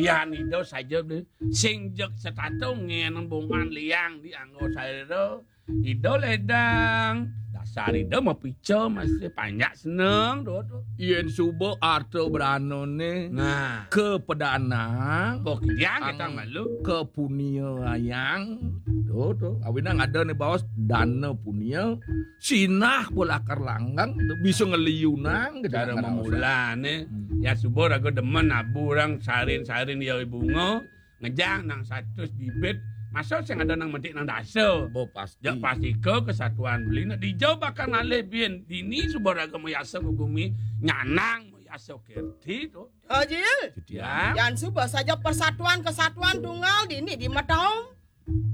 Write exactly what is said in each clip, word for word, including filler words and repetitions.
Yan Ida saja deh. Sing jeg setata ngeneng bongan liang di anggo sarira. Ida ledang. Dasar Ida mapica masih panjak seneng, do, do. Yen suba arta branané Nah. Kepedanang, Kok kidiang ang kita malu. Kepuniayang, do, do. Awinang ada né baos dana punia, sinah lakar langgeng, bisa ngeliunang, gitu. Cara kan, memulane, Hmm. Ya suba raga demen aburang sarin-sarin ya bunga, ngejang nang satus bibit, masa sing ada nang metik nang dasa. Bo, pasti. Ya, pastika kesatuan beli nak dijau bakal ngalih bin dini suba raga mayasa ke gumi, nyanang mayasa kirti to. Ajil. Jutian. Yan suba saja persatuan kesatuan tunggal dini di Metaung.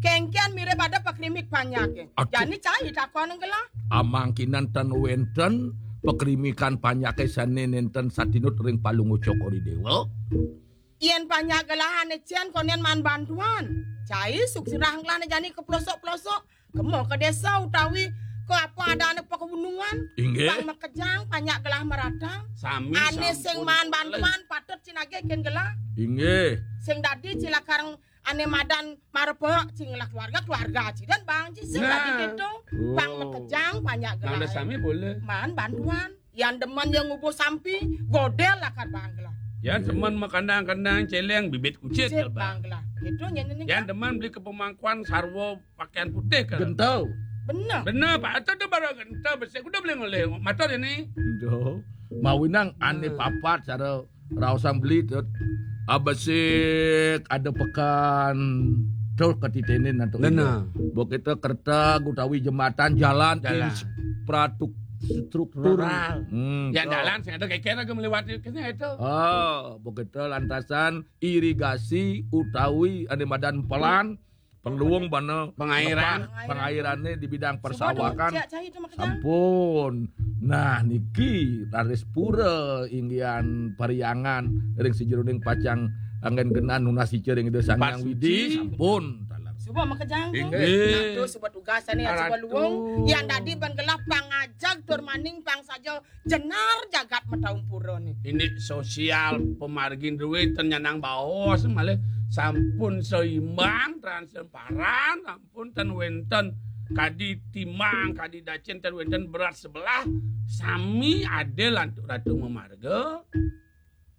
Kengkian mirip ada pakrimik panjake. Aduh. Jani cai takon gelah. Amangkinan ten wenten pakrimikan panjake sane nenten satinut ring Palungguh Cokor I Dewa. Yen panjak gelahane cen konen man bantuan. Cai suksirah gelahane jani ke pelosok-pelosok. Kemo ke desa utawi ke apa adane pegunungan. Inggih. Pang makejang panjak gelah merata. Sami ane sing sampun man boleh. Bantuan patut cinage ken gelah. Inggih. Sing dadi cilakar ane madan marepek cing lah keluarga, keluarga ci dan bang ci sing Nah. Dadi gitu. Bang Oh. Makejang panjak gelah. Nang sami boleh. Man bantuan. Yan demen yang ngubuh sampi, godel lakar bang gelah. Yan demen makandang-kandang celeng bibit kucit Cit bang. Bang gelah. Gitu nyen ini. Yan demen beli ke pemangkuan sarwa pakaian putih kan. Gentau. Bener. Bener, Pak. Itu tuh baru gentau besik. Udah beli ngoleh. Matur ini. Duh. Mawinang ane Hmm. Papat cara raosang beli tut. Abesik ada pekan tur ketitenin antuk Bener. Ida. Bok kita kereta utawi jembatan jalan Jalan. Infrastruktur. Rural. Hmm, Yang tuh. Jalan sing ada kekena ke melewati kene itu. Oh, bok kita lantasan irigasi utawi ane madan pelan Perluung bana Pengairan. Ngepah pengairannya di bidang Suba persawakan. Dong, cek cai itu makanya. Sampun. Nah, niki raris pura inggihan pariangan ring sajeroning pacang anggen genah nunas ica ring Ida Sang Hyang Widi. Suci. Sampun. Taler. Suba makejang. Inggih. Nah, tu suba tugasane ya suba luung. Yang dadi ban gelah pangajag tur maning pang saja jenar jagat Metaung Pura ni. Ini sosial pemargin duit ten nyanang baos malih sampun seimbang transparan sampun ten wenten kadi timang kadi dacin ten wenten berat sebelah sami adil antuk ratu memarga